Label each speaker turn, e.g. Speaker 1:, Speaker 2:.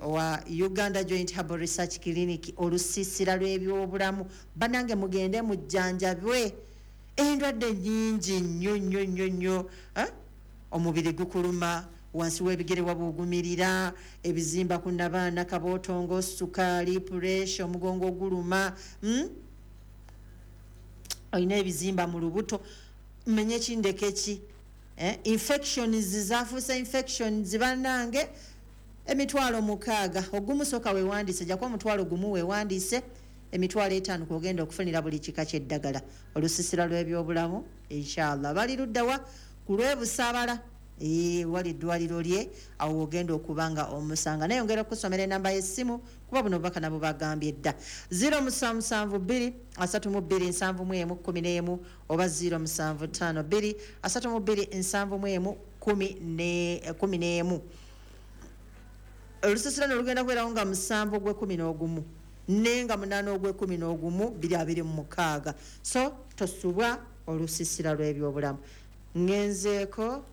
Speaker 1: Owa Uganda Joint Herbal Research Clinic, olusiisira lw'ebyobulamu. Banange, mugende mujjanjabwe endwadde nyingi nnyo nnyo nnyo nnyo, eh? Omubiri gukuluma, wansi w'ebigere wabugumirira, ebizimba ku nabaana, kabootongo, sukaali, puresha, omugongo guluma, Olina ebizimba mu lubuto, menye kindeke ki, eh? Infections zafuuse infections. Bannange, 60,000 ogumu. Soka wewandiise, jako 10,000 wewandiise, 50,000 kwogenda okufunira buli kika kyeddagala. Olusisira lw'ebyobulamu, inshallah, bali luddawa? Ku lw'Ebusabala wali eddwaliro lye, awo ogenda okuba nga omusanga. Naye ongera okusomera enamba y'essimu, kuba buno obubaka nabo bagambye dda: 0772 32 71 11 oba 0752 32 71 11. Olusisira no lugenda kubeerawo nga 7 ogw'e-11 nenga 8 ogw'e-11 2026, so tosubwa olusisira lw'ebyobulamu. Ngenzeeko.